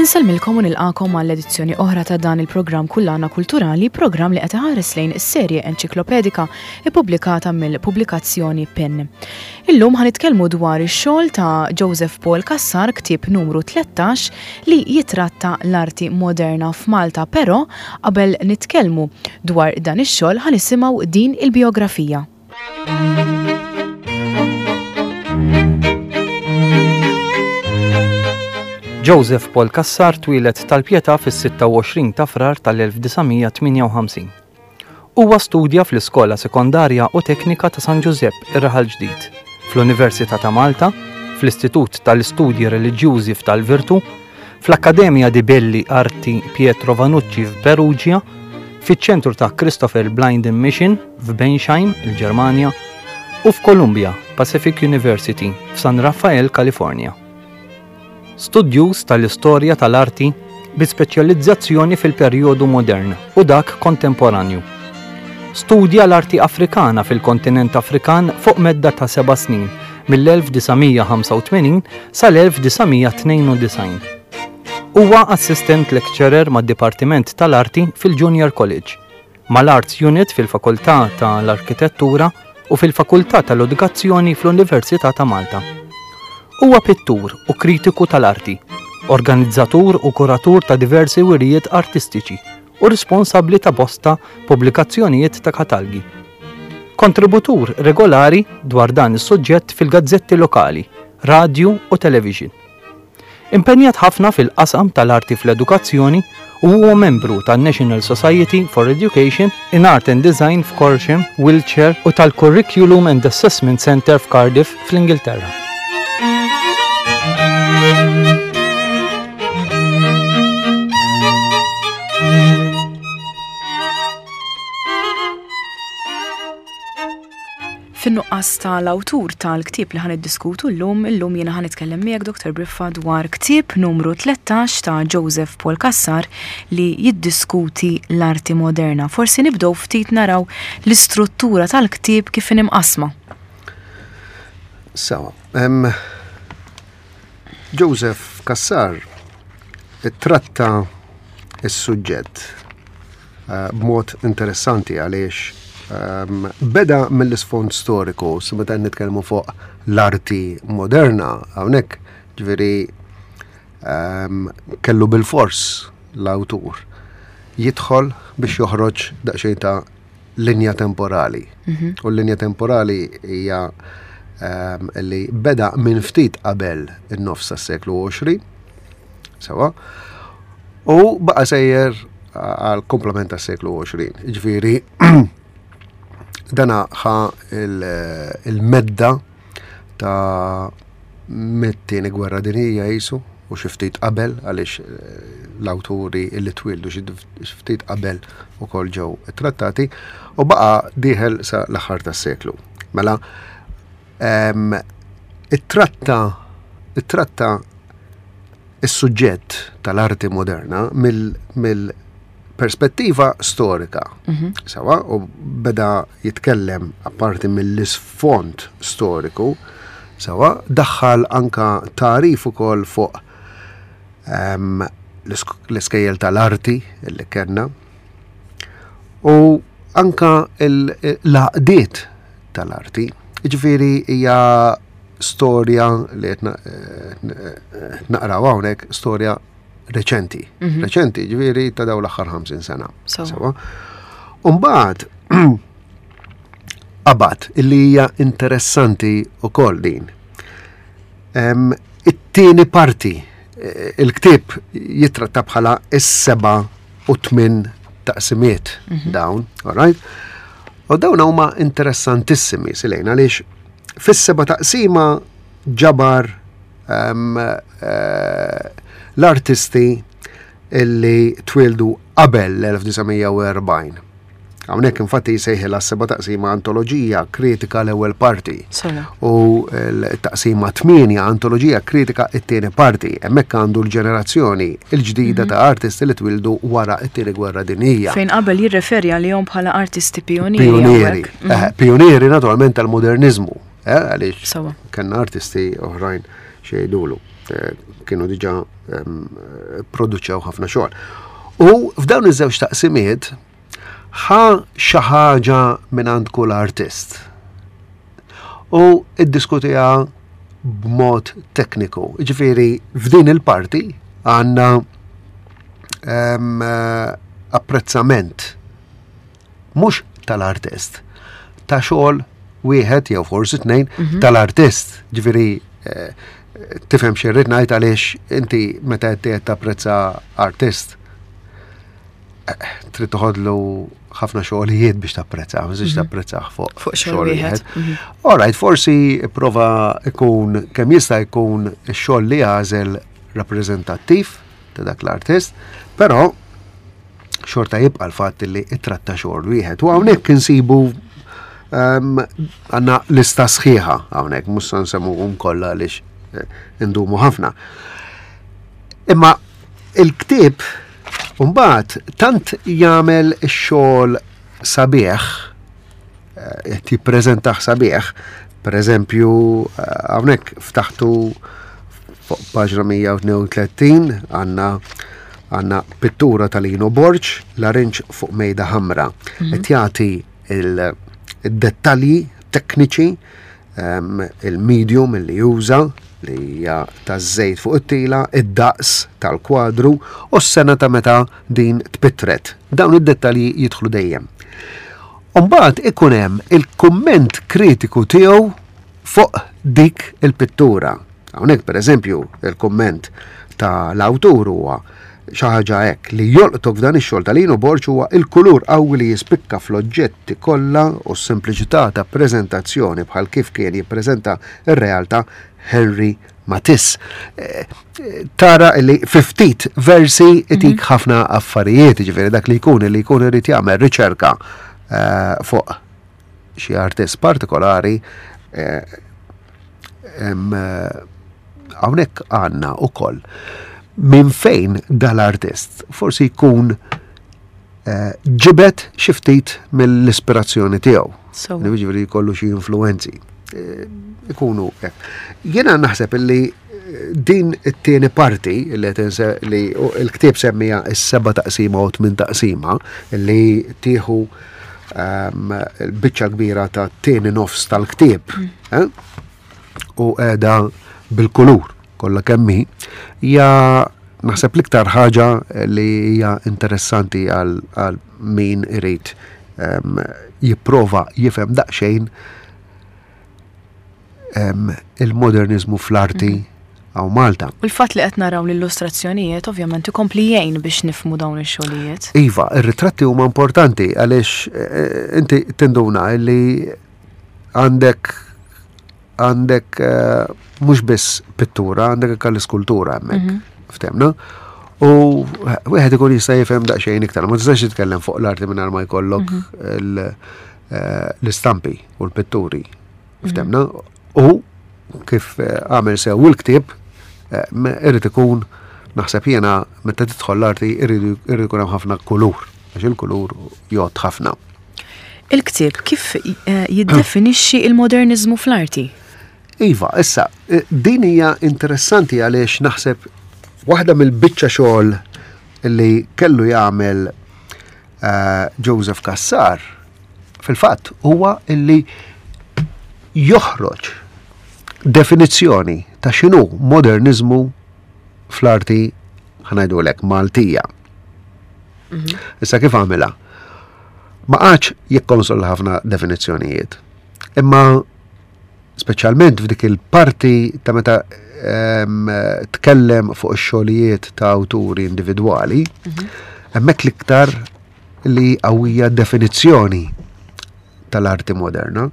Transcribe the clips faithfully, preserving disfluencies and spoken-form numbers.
Insellmilkom u nilqakom għall edizzjoni oħra ta' dan il-programm Kullana Kulturali, programm li qed iħares lejn is-serje enċiklopedika ippubblikata mill-pubblikazzjoni PEN. Illum ħa nitkellmu dwar ix-xogħol ta' Joseph Paul Cassar, ktieb numru tlettax li jitratta l-arti moderna f'Malta, però qabel nitkellmu dwar dan ix-xogħol ħa nisimgħu din il-biografija. Joseph Paul Cassar twieled Tal-Pietà fis-sitta u għoxrin ta' Frar tal-elf disa' mija tmienja u ħamsin. Huwa studja fl-Iskola Sekondarja u Teknika ta' San Ġużepp ir-Raħal Ġdid, fl-Università ta' Malta, fl-Istitut tal-Istudji Reliġjużi f'Tal-Virtu, fl-Akkademja di Belli Arti Pietro Vannucci f'Perugia, fiċ-ċentru ta' Christopher Blinden Mission f'Bensheim, il-Ġermanja, u f'Columbia Pacific University f'San Rafael, California. Studjuż tal-istorja tal-arti bi speċjalizzazzjoni fil-perjodu modern u dak kontemporanju. Studja l-arti Afrikana fil-kontinent Afrikan fuq medda ta' seba' snin mill-elf disa' mija ħamsa u tmenin sal-elf disa' mija tnejn u disgħin. Huwa assistant lecturer mad-Dipartiment tal-Arti fil-Junior College, mal-Arts Unit fil-Fakultà tal-Arkitettura u fil-Fakultà tal-Edukazzjoni fl-Università ta' Malta. Huwa pittur u kritiku tal-arti, organizzatur u kuratur ta' diversi wirijiet artistiċi u responsabbli ta' bosta pubblikazzjonijiet ta' katalgi. Kontributur regolari dwar dan is-suġġett fil-gazzetti lokali, radju u television. Impenjat ħafna fil-qasam tal-arti fl-edukazzjoni u huwa membru tan-National Society for Education in Art and Design f'Corsham, Wiltshire u tal-Curriculum and Assessment Centre f'Cardiff fl-Ingilterra. Fin-nuqqas tal-awtur tal-ktieb li ħan iddiskutu llum, illum jiena ħan nitkellem miegħek Doktor Briffa dwar ktieb numru tlettax ta' Joseph Paul Cassar li jiddiskuti l-arti moderna. Forsi nibdew ftit naraw l-istruttura tal-ktieb kif inhi mqassma. Sawa, em, Joseph Cassar tratta is-suġġett, eh, b'mod interessanti għaliex Ehm, beda mill-isfond storiku, su meta nitkellmu fuq l-arti moderna, hawnhekk ġifieri, ehm, kellu bil-fors l-awtur jidħol biex joħroġ daqsxejn ta' linja temporali. Mhm. U l-linja temporali hija, ehm, li beda minn ftit qabel in-nofs tas-seklu għoxrin, sewa, u baqa' sejjer għal komplement tas-seklu għoxrin. Ġifieri, dana ħa il-, il-medda ta' mit-tieni gwerra dinjija jisu u xi ftit qabel, għaliex, eh, l-awturi illi twildu xi ftit qabel ukoll ġew trattati, u baqa' dieħel sa l-aħħar tas-seklu. Mela, em, ittratta, ittratta is-suġġett tal-arti moderna mill-, mill-perspettiva storika. Mhm. Sawa, u beda jitkellem apparti mill-isfond storiku, sawa, daħħal anka tarif ukoll fuq, em, l-isk-, l-iskejjel tal-arti li kellna u anka il-, l-għaqdiet tal-arti. Ġifieri hija storja li qed na-, eh, naqraw hawnhekk, storja reċenti. Mhm. Reċenti, ġifieri ta' dawn l-aħħar ħamsin sena. Sawa. Sawa. U mbagħad qabad illi hija interessanti wkoll din. Em, it-tieni parti, eh, il-ktieb jitratta bħala is-seba' u tmien taqsimiet Mhm. dawn, all right? U dawn huma interessantissimi silejn għaliex fis-seba' taqsima ġabar, em, eh, l-artisti illi twildu qabel l-elf disa' mija u erbgħin. Hawnhekk infatti jsejħilha s-seba' taqsima antoloġija kritika l-ewwel parti. Sala. U l-taqsima tmienja antoloġija kritika t-tieni parti. Hemmhekk għandu l-ġenerazzjoni l-ġdida Mhm. ta' artisti li twildu wara t-tieni gwerra dinjija. Fejn qabel jirreferi għalihom bħala artisti pionieri Pionieri. hawnhekk. Eh, Mhm. pionieri naturalment tal-modernizmu, eh, għaliex Sawa. kellna artisti oħrajn xejdulu. eh, kienu diġà em, produċew ħafna xogħol. U f'dawn iż-żewġ taqsimiet ħa xi ħaġa minn għand kull artist. U iddiskutiha b'mod tekniku. Ġifieri f'din il-parti għandna em, eh, apprezzament mhux tal-artist, ta' xogħol wieħed jew forsi tnejn tal-artist. Ġifieri eh, tifhem xi rrid ngħid, għaliex inti meta qed tapprezza artist eh, trid toħodlu ħafna xogħlijiet biex tapprezza, ma tistax tapprezzah fuq Fuq xogħol wieħed. Mhm. All right, forsi prova ikun kemm jista' jkun ix-xogħol li għażel rappreżentattiv ta' dak l-artist, però xorta jibqa' l-fatt li ittratta xogħol wieħed. U hawnhekk insibu ehm, għandna lista sħiħa hawnhekk, mhux se nsemmuhom kollha għaliex eh, indumu ħafna. Imma il-ktieb mbagħad tant jagħmel ix-xogħol sabiħ, eh, qed jippreżentah sabiħ, per eżempju, eh, hawnhekk ftaħtu fuq paġna mija u tnejn u tletin, għandna għandna pittura ta' Lino Borg, Larinġ fuq mejda ħamra. Qed jagħti il-dettalji tekniċi, em, il-medium li juża, li hija taż-żejt fuq it-tila, id-daqs tal-kwadru u s-sena ta' meta din tpittret. Dawn id-dettalji jidħlu dejjem. Umbagħad ikun hemm il-kumment kritiku tiegħu fuq dik il-pittura. Hawnhekk, pereżempju, il-kumment ta' l-awtur huwa xi ħaġa hekk: "Li jolqtok f'dan ix-xogħol ta' Lino Borg huwa il-kulur qawwi li jispikka fl-oġġetti kollha u s-sempliċità ta' preżentazzjoni, bħal kif kien jippreżenta r-realtà Henri Matisse." Eh, eh, Tara li fi ftit versi itik ħafna affarijiet, ġifieri dak li jkun li jkun irid jagħmel riċerka eh, fuq xi artist partikolari, eh, em, eh, hawnhekk għandna ukoll minn fejn dal-artist forsi jkun eh, ġibet xi ftit mill-ispirazzjoni tiegħu. So, Ġifieri jkollu xi influenzi. Eh, Ikunu hekk. Jiena naħseb illi eh, din it-tieni parti li qed inse- li l-ktieb semmija is-seba' taqsima u tmien taqsima, li tieħu ehm, il-biċċa kbira ta' tieni nofs tal-ktieb, eh? U qiegħda bil-kulur kollha kemm hi, hija naħseb l-iktar ħaġa li hija interessanti għal għal min irid em, jipprova jifhem daqsxejn em, il-modernizmu fl-arti hawn Malta. U l-fatt li qed naraw l-illustrazzjonijiet ovvjament ikompli jgħin biex nifhmu dawn ix-xogħlijiet. Iva, ir-ritratti huma importanti għaliex eh, inti tinduna li għandek għandek eh, mhux biss pittura, għandek anke l-iskultura hemmhekk. Ftemna? U wieħed ikun jista' jifhem daqsxejn iktar, ma tistax titkellem fuq l-arti mingħajr ma jkollok il- eh, l-istampi u l-pitturi. Ftemna? U kif eh, għamel sew il-ktieb, eh, me- irid ikun, naħseb jiena, meta tidħol l-arti irid irid ikun hemm ħafna kulur, għax il-kulur jgħodd ħafna. Il-ktieb kif eh, jiddefinixxi il-modernizmu fl-arti? Iva, issa, eh, din hija interessanti għaliex naħseb waħda mill-biċċa xogħol li kellu jagħmel eh, Joseph Cassar fil-fatt huwa illi joħroġ definizzjoni ta' x'inhu modernizmu fl-arti, ħa ngħidulek, Maltija. Issa kif għamilha? Ma qagħadx jikkonsolla ħafna definizzjonijiet. Imma speċjalment f'dik il-parti ta' meta em, tkellem fuq ix-xogħlijiet ta' awturi individwali, hemmhekk l-iktar li qawwija definizzjoni tal-arti moderna.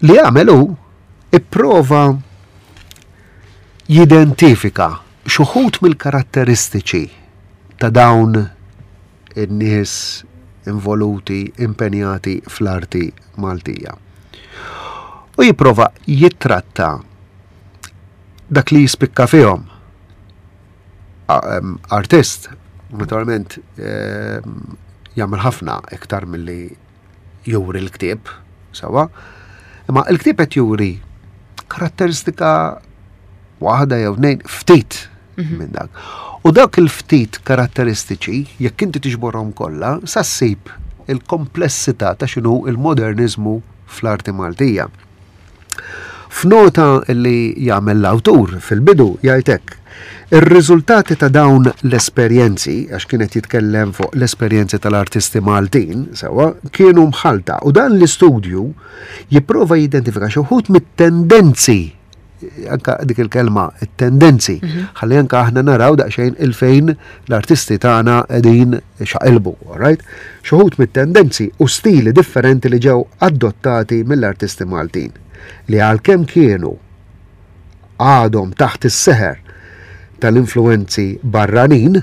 Li għamel hu ipprova jidentifika xi wħud mill-karatteristiċi ta' dawn in-nies involuti, impenjati fl-arti Maltija. U jipprova jittratta dak li jispikka fihom. A- em, Artist, naturalment, em, jagħmel ħafna iktar milli juri l-ktieb, sawa. Imma l-ktieb qed juri karatteristika Waħda jew tnejn, ftit minn dak. U dak il-ftit karatteristiċi, jekk inti tiġborhom kollha, sa ssib il-komplessità ta' x'inhu il-modernizmu fl-arti Maltija. F'nota li jagħmel l-awtur fil-bidu jgħid hekk: ir-riżultati ta' dawn l-esperjenzi, għax kienet jitkellem fuq l-esperjenzi tal-artisti Maltin, sewa, kienu mħalta, u dan l-istudju jipprova jidentifika xi wħud mit-tendenzi, anka dik il-kelma, it-tendenzi, ħalli anka aħna naraw daqsxejn il-fejn l-artisti tagħna qegħdin xaqilbu, all right? Xi wħud mit-tendenzi u stili differenti li ġew adottati mill-artisti Maltin, li għalkemm kienu għadhom taħt is-seħer tal-influenzi barranin,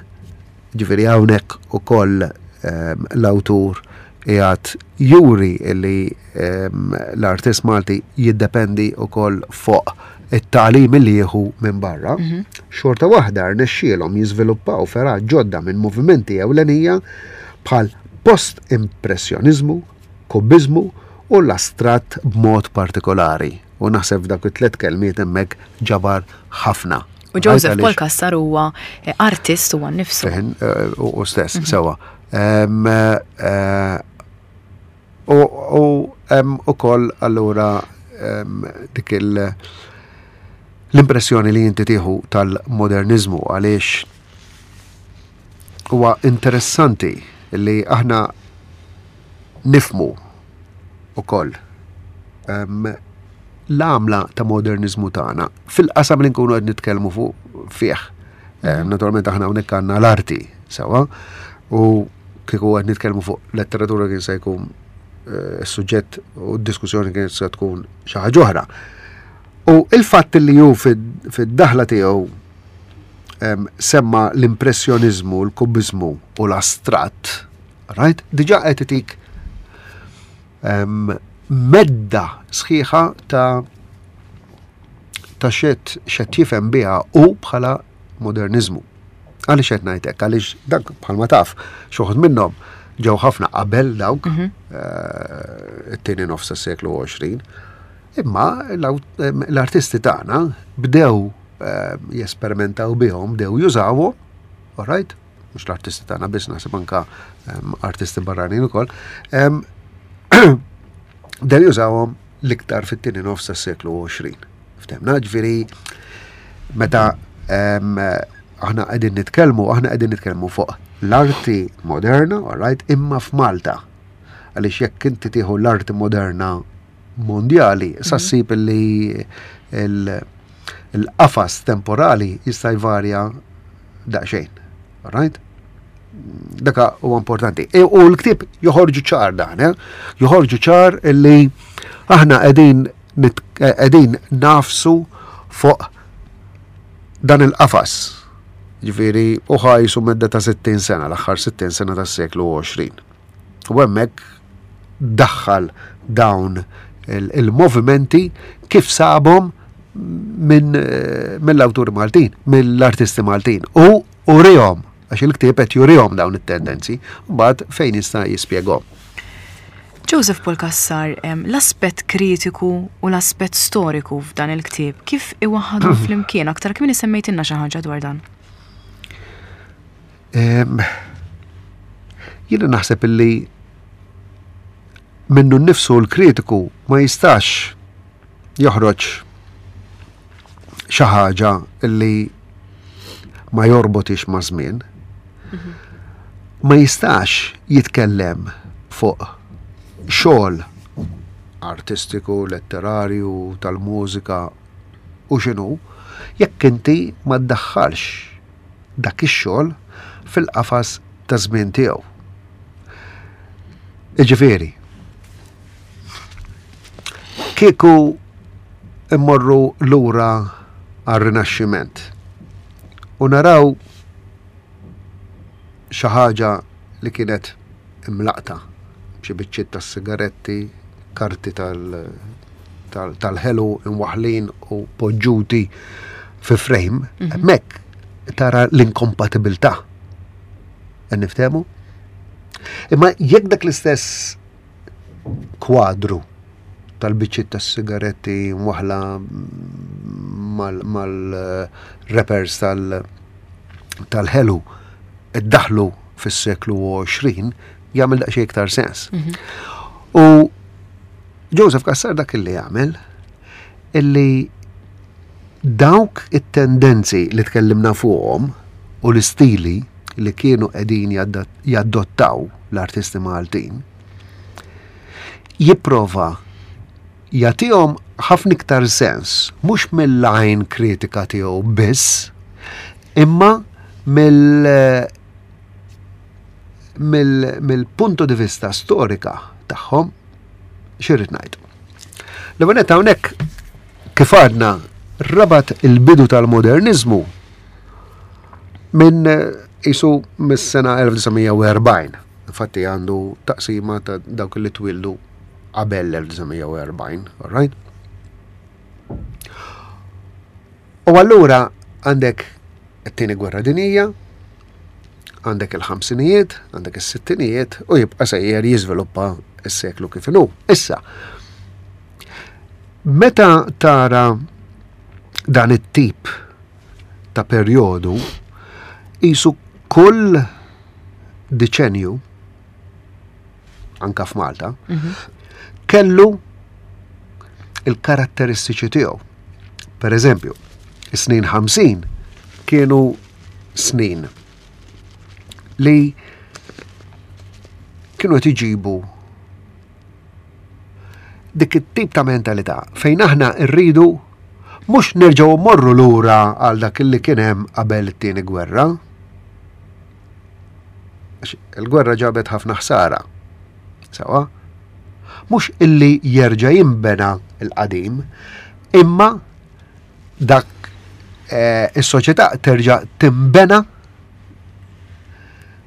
ġifieri hawnhekk ukoll ehm, l-awtur qiegħed juri li ehm, l-artist Malti jiddependi ukoll fuq it-tagħlim li jieħu minn barra, xorta waħda rnexxielhom jiżviluppaw fergħat ġodda minn movimenti ewlenija bħal post-impressjonizmu, kubizmu u l-astratt b'mod partikolari. U naħseb f'dak it-tlet kelmiet hemmhekk ġabar ħafna. U Joseph Għaliex- Paul Cassar huwa eh, artist huwa nnifsu. Fehin, eh, u u stess, sewa. Em, eh, U u hemm ukoll allura em, dik il- l-impressjoni li inti tieħu tal-modernizmu, għaliex huwa interessanti li aħna nifmu ukoll em, l-għamla ta' modernizmu tagħna fil-qasam li nkunu qed nitkellmu fuq fih. Em, Naturalment aħna hawnhekk għandna l-arti sewa, u kieku qed nitkellmu fuq letteratura kien se jkun eh, is-suġġett u d-diskussjoni kien se tkun xi ħaġa oħra. U il-fatt li hu fid- fid-daħla tiegħu em, semma l-impressjonizmu, l-kubizmu u l-astratt, right? Diġà qed itik em, medda sħiħa ta' ta' xet xet jifhem biha u bħala modernizmu. Għaliex qed ngħidlek? Għaliex dak bħalma taf, xi wħud minnhom ġew ħafna qabel dawk eh, it-tieni nofs tas-seklu għoxrin. Imma l-aw- em, l-artisti tagħna bdew eh, jesperimentaw bihom, bdew jużawhom, all right? Mhux l-artisti tagħna biss, naħseb anka em, artisti barranin ukoll. Em, Bdew jużawhom l-iktar fit-tieni nofs tas-seklu għoxrin. Ftemna, ġifieri meta em, aħna qegħdin nitkellmu, aħna qegħdin nitkellmu fuq l-arti moderna, all right, imma f'Malta. Għaliex jekk inti tieħu l-arti moderna mondjali, sa ssib li il- il-qafas temporali jista' jvarja daqsxejn. All right? Daka huwa importanti. E, u l-ktieb joħorġu ċar dan, eh? Joħorġu ċar illi aħna qegħdin nit- eh, qegħdin nafsu fuq dan il-qafas. Ġifieri, u ħajsu medda ta' sittin sena, l-aħħar sittin sena tas-seklu għoxrin. U hemmhekk daħħal dawn il- il-movimenti kif sabhom minn eh, mill-awturi Maltin, mill-artisti Maltin. U urihom, għax il-ktieb qed jurihom dawn it-tendenzi, mbagħad fejn jista' jispjegahom. Joseph Paul Cassar, em, l-aspett kritiku u l-aspett storiku f'dan il-ktieb, kif iwaħħadu flimkien? Aktar kmieni semmejtilna xi ħaġa dwar dan. Em, Jiena naħseb illi minnu nnifsu l-kritiku ma jistax joħroġ xi ħaġa illi ma jorbotix ma' żmien. Ma jistax jitkellem fuq xogħol artistiku, letterarju, tal-mużika u x'inhu, jekk inti ma ddaħħalx dak ix-xogħol fil-qafas ta' żmien tiegħu. Iġifieri, kieku immorru lura għar-Rinaxximent u naraw xi ħaġa li kienet imlaqta, xi biċċiet tas-sigaretti, karti tal-, tal-, tal-ħelu imwaħlin u poġġuti fi frame, Mhm. hemmhekk tara l-inkompatibilità. Qed niftehmu? Imma jekk dak l-istess kwadru tal-biċċiet tas-sigaretti mwaħla mal-rappers tal-ħelu iddaħlu fis-seklu għoxrin jagħmel daqsxejn iktar sens. U Joseph Cassar dak illi jagħmel illi dawk it-tendenzi li tkellimna fuqhom u l-istili li kienu qegħdin jaddottaw l-artisti Maltin jipprova jagħtihom ħafna iktar sens, mhux mill-għajn kritika tiegħu biss, imma mill mill-punto di vista storika tagħhom. X'irrid ngħid? L-ewwel hawnhekk kif għadna rabat il-bidu tal-modernizmu minn isu mis-sena elf disa' mija u erbgħin. Infatti għandu taqsima ta' dawk li twildu qabel l-elf disa' mija u erbgħin, all right? U allura għandek it-tieni gwerra dinjija, għandek il-ħamsinijiet, għandek is-sittinijiet u jibqa' sejjer jiżviluppa s-seklu kif inhu. Issa, meta tara dan it-tip ta' perjodu, isu kull deċenju, anka f'Malta, Mhm. kellu il-karatteristiċi tiegħu. Per eżempju, is-snin ħamsin kienu snin li kienu qed iġibu dik it-tip ta' mentalità fejn aħna rridu mhux nerġgħu mmorru lura għal dak li kien hemm qabel it-tieni gwerra. Għax il-gwerra ġabet ħafna ħsara. Sawa? Mhux illi jerġa' jinbena l-qadim, imma dak, eh, is-soċjetà terġa' timbena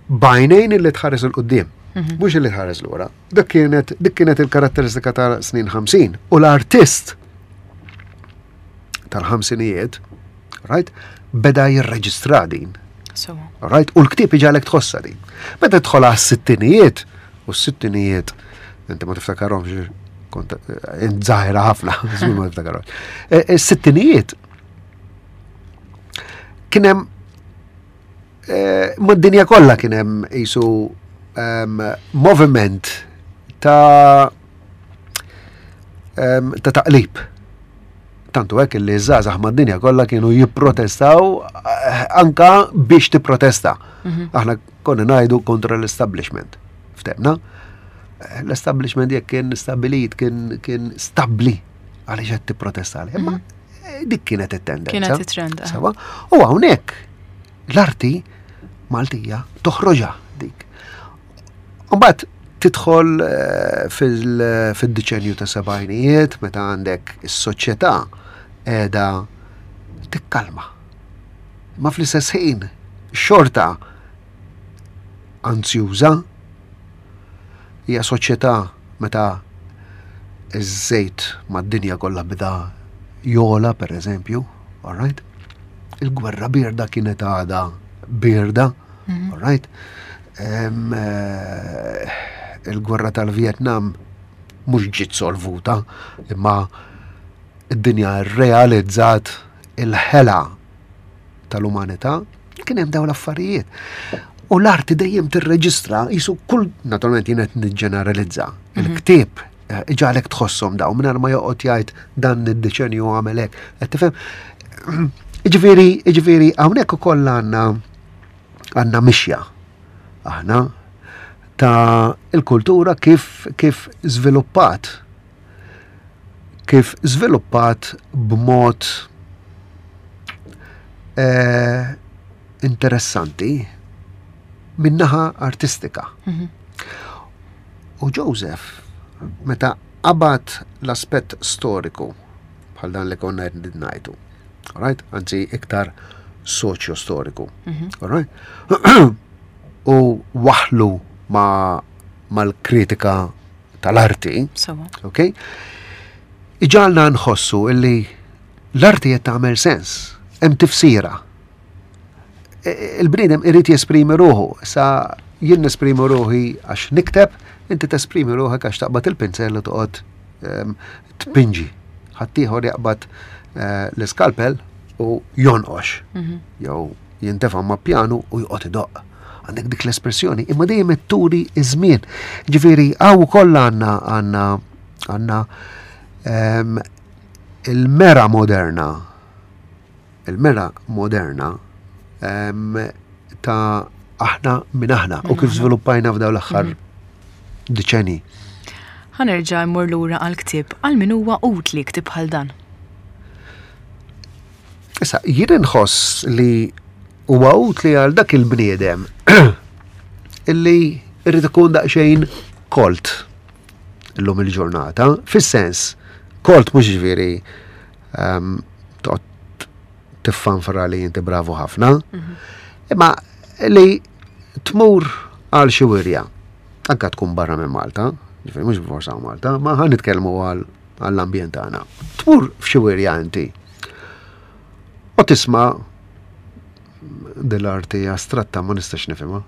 b'għajnejn illi tħares 'il quddiem, Mhm. mhux illi tħares lura. Dik kienet, dik kienet il-karatteristika ta' snin ħamsin. U l-artist tal-ħamsinijiet, right, beda jirreġistra din. So. Right? U l-ktieb iġalek tħossa din. Meta tidħol għas-sittinijiet, u s-sittinijiet, inti ma tiftakarhomx, kont, eh, int żgħira ħafna, żgur ma tiftakarhomx. Eh, eh, s-sittinijiet kien hemm, eh, mad-dinja kollha kien hemm qisu, ehm, moviment ta', ehm, ta' taqlib. Tantu hekk li żgħażagħ mad-dinja kollha kienu jipprotestaw, eh, anka biex tipprotesta. Mhm. Aħna konna ngħidu kontra l-establishment. Ftemna? Eh, l-establishment jekk kien stabilit, kien, kien stabbli għaliex qed tipprotesta għalih. Imma Mhm. eh, dik kienet it-tendenza. Kienet it-trend, eh. Sawa? U hawnhekk l-arti Maltija toħroġha dik. Mbagħad tidħol, eh, fil-, fid-deċenju ta' sebgħinijiet meta għandek is-soċjetà qiegħda tikkalma. Ma fl-istess ħin xorta anzjuża, hija soċjetà meta iż-żejt mad-dinja kollha bida jola, per eżempju, all right? Il-gwerra birda kienet għadha birda, Mhm. all right? Em, eh, il-gwerra tal-Vietnam mhux ġiet solvuta, imma id-dinja rrealizzat il-ħela tal-umanità, kien hemm dawn l-affarijiet. U l-arti dejjem tirreġistra, jisu kull, naturalment jien qed niġġeneralizza, Mhm. il-ktieb, eh, iġagħlek tħosshom dawn mingħajr ma joqgħod jgħid dan id-deċenju għamel hekk. Qed tifhem? Jiġifieri, jiġifieri hawnhekk ukoll għandna, għandna mixja aħna ta' il-kultura kif, kif żviluppat. Kif żviluppat b'mod, eh, interessanti min-naħa artistika. Mhm. U Joseph, meta qabad l-aspett storiku, bħal dan li konna qed ngħidu, all right? Anzi, iktar soċjo-storiku, Mhm. all right? U waħlu ma-, mal-kritika tal-arti, Sawa. ok? Iġalna nħossu illi l-arti qed tagħmel sens, hemm tifsira. E, e, il-bniedem irid jesprimi ruħu, sa jien nesprimi ruħi għax nikteb, inti tesprimi ruħek għax taqbad il-pinzell u toqgħod, ehm, tpinġi. Ħaddieħor jaqbad eh, l-iskalpel u jonqox. Mhm. Jew jintefa' ma' pjanu u joqgħod idoqq. Għandek dik l-espressjoni, imma dejjem turi iż-żmien. Ġifieri hawn ukoll għandna għandna għandna ehm, il-mera moderna il-mera moderna ehm, ta' aħna minn aħna u kif żviluppajna f'dawn l-aħħar mhm. deċenji. Ħa nerġa' mmur lura għal-ktieb, għal min huwa utli ktieb bħal dan? Issa, jien inħoss li huwa utli għal dak il-bniedem illi irrid ikun daqsxejn kolt illum il-ġurnata, fis-sens, kolt mhux ġifieri um, toqgħod tiffanfra li inti bravu ħafna, mhm. imma li tmur għal xi wirja, anka tkun barra minn Malta, ġifieri mhux forsa Malta, ma ħa nitkellmu għall-ambjent tagħna. Tmur f'xi wirja inti. U tisma' dell-arti astratta ma nistax nifhimha.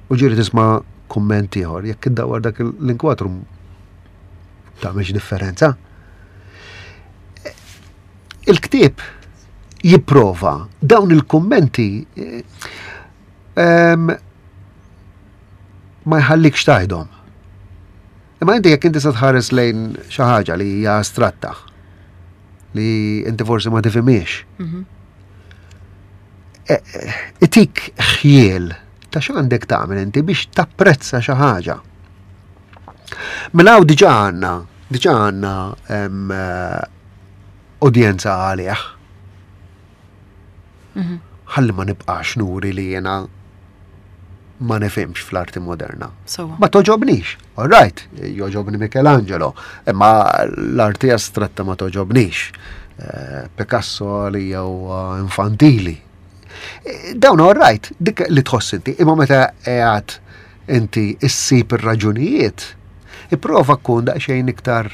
U ġieli tisma' kumment ieħor, jekk iddawwar dak l-inkwatru tagħmilx differenza. Il-ktieb jipprova dawn il-kummenti ehm, ma jħallikx tgħidhom. Imma inti jekk inti se tħares lejn xi ħaġa li hija astratta, li inti forsi ma tifhimiex. Mhm. E, e, itik ħjiel ta' x'għandek tagħmel inti biex tapprezza xi ħaġa. Mela hawn diġà għandna, diġà għandna eh, udjenza għalih. Mhm. Ħalli ma nibqax nuri li jena ma nifhimx fl-arti moderna. Ma togħġobnix, all right, jogħġobni Michelangelo, imma l-arti astratta ma togħġobnix. Eh, Picasso li jew infantili. Eh, dawn all right, dik li tħoss inti, imma meta qiegħed inti issib ir-raġunijiet, ipprova tkun daqsxejn iktar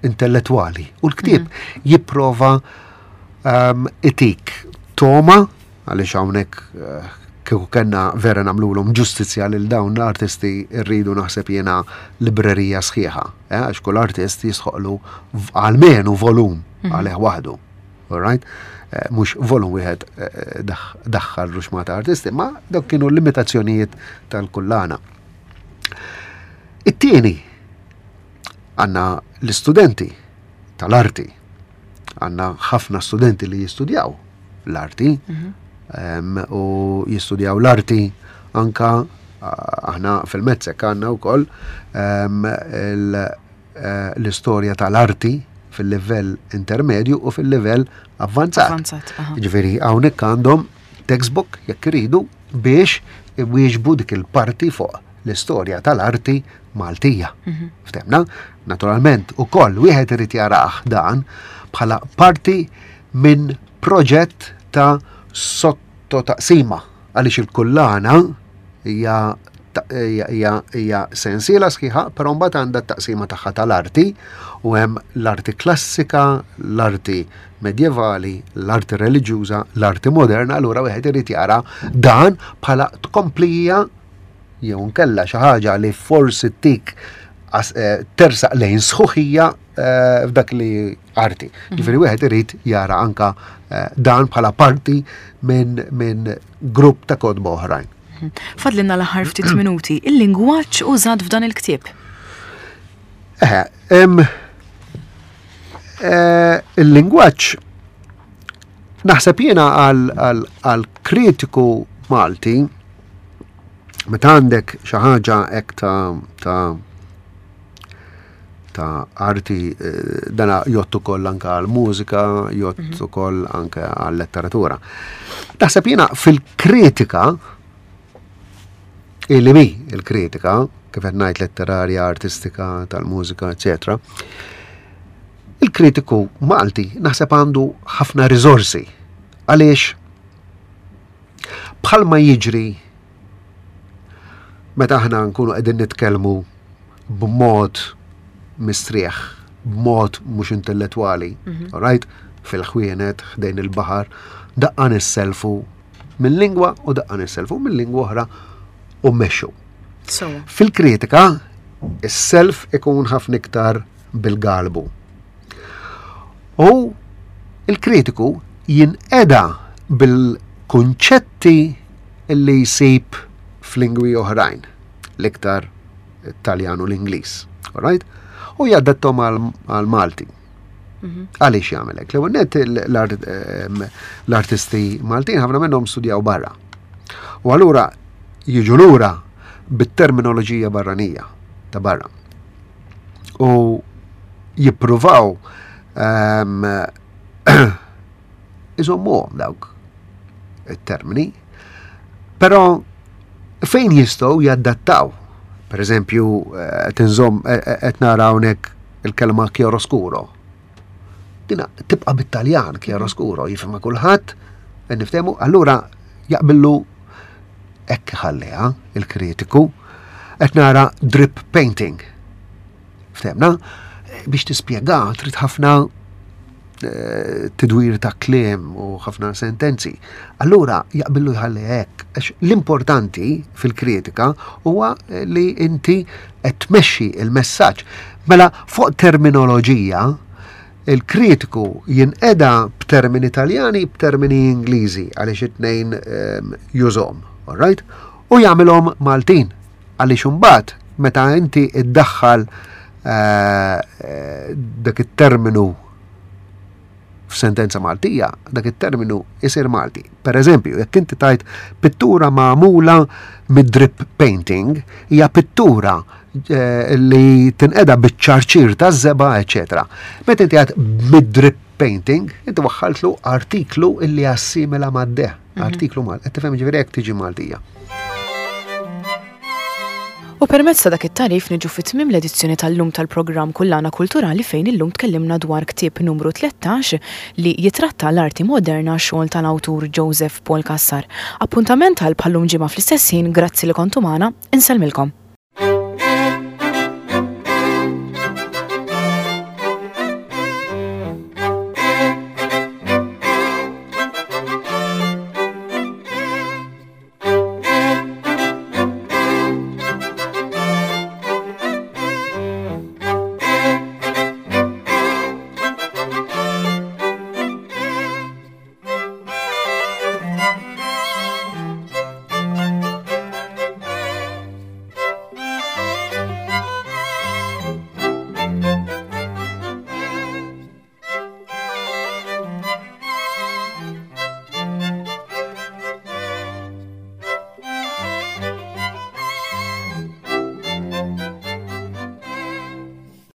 intellettwali. U l-ktieb mhm. jipprova um, itik toma, għaliex hawnhekk uh, kieku kellna vera nagħmlulhom ġustizzja lil dawn l-artisti, rridu naħseb jiena librerija sħiħa, eh, għax kull artist jistħoqqlu almenu volum mhm. għalih waħdu. All right? Eh, mhux volum wieħed eh, daħħal ruxmata artisti, ma dawk kienu limitazzjonijiet tal-kullana. It-tieni, għandna l-istudenti tal-arti. Għandna ħafna studenti li jistudjaw l-arti mhm. u jistudjaw l-arti anka aħna fil-MATSEC għandna wkoll eh, l-istorja tal-arti fil-livell intermedju u fil-livell avvanzat. Avvanzat. Ġifieri hawnhekk għandhom textbook jekk iridu biex iwieġbu dik il-parti fuq l-istorja tal-arti Maltija. Mhm. Ftemna? Naturalment, ukoll wieħed irid jarah dan bħala parti minn proġett ta' sottotaqsima, għaliex il-kullana hija hija hija sensiela sħiħa, però mbagħad għandha t-taqsima tagħha tal-arti u hemm l-arti klassika, l-arti medjevali, l-arti reliġjuża, l-arti moderna, allura wieħed irid jara dan bħala tkomplija jew nkella xi ħaġa li forsi tik eh, tersaq lejn sħuħija eh, f'dak li arti. Mhm. Ġifieri wieħed irid jara anka eh, dan bħala parti minn min grupp ta' kotba oħrajn. Mhm. Fadlinna l-aħħar ftit minuti, il-lingwaġġ użat f'dan il-ktieb. Eh, il-lingwaġġ naħseb jiena għal kritiku Malti, meta għandek xi ħaġa hekk ta' ta' ta' arti, eh, dana jgħodd ukoll anka għal mużika, jgħodd mhm. ukoll anka għal letteratura. Naħseb jiena fil-kritika, illi mi il-kritika, kif qed ngħid letterarja, artistika, tal-mużika, eċetera. Il-kritiku Malti naħseb għandu ħafna riżorsi. Għaliex bħalma jiġri meta aħna nkunu qegħdin nitkellmu b'mod mistrieħ, b'mod mhux intellettwali, mhm. all right? Fil-ħwienet, ħdejn il-baħar, daqqa nisselfu minn lingwa u daqqa nisselfu minn lingwa oħra u mmexxu. Fil-kritika, is-self ikun ħafna iktar bil-galbu. U Il-kritiku jinqeda bil-kunċetti li jsib f'lingwi oħrajn, l-iktar Taljan u l-Ingliż, alright? U jaddattom għal-Malti. Mhm. Għaliex jagħmel hekk? L-ewwel nett l-artisti Maltin ħafna minnhom studjaw barra. U allura jiġu lura bit-terminoloġija barranija ta' barra. U jippruvaw um, iżommuhom dawk it-termini, però fejn jistgħu jaddattaw. Per eżempju, qed inżomm qed nara hawnhekk il-kelma chiaroscuro. Dina tibqa' bit-Taljan chiaroscuro, jifhimha kulħadd, niftehmu, allura jaqbillu hekk ħalliha il-kritiku. Qed nara drip painting. Ftehmna? Biex tispjega trid ħafna eh, tidwir ta' kliem u ħafna sentenzi. Allura jaqbillu jħalli hekk. Għax l-importanti fil-kritika huwa li inti qed tmexxi il-messaġġ. Mela fuq terminoloġija il-kritiku jinqeda b'termini Taljani, b'termini Ingliżi għaliex it-tnejn ehm, jużhom, all right? U jagħmilhom Maltin għaliex imbagħad meta inti iddaħħal eh, eh, dak it-terminu f'sentenza Maltija, dak it-terminu isir Malti. Per eżempju, jekk inti tajt pittura magħmula mid-drip painting, hija pittura eh, li tinqeda biċ-ċarċir ta' żebgħa, eċetera. Meta inti għad mid-drip painting, inti waħħaltlu artiklu illi assimila mad-de, mhm. artiklu mal, qed tifhem ġifieri hekk tiġi Maltija. U permezz ta' dak it-tagħrif niġu fi tmiem l-edizzjoni tal-lum tal-programm Kullana Kulturali fejn illum tkellimna dwar ktieb numru tlettax li jitratta l-arti moderna xogħol tal-awtur Joseph Paul Cassar. Appuntament għal bħallum ġimgħa fl-istess ħin, grazzi li kontu magħna, insellmilkom.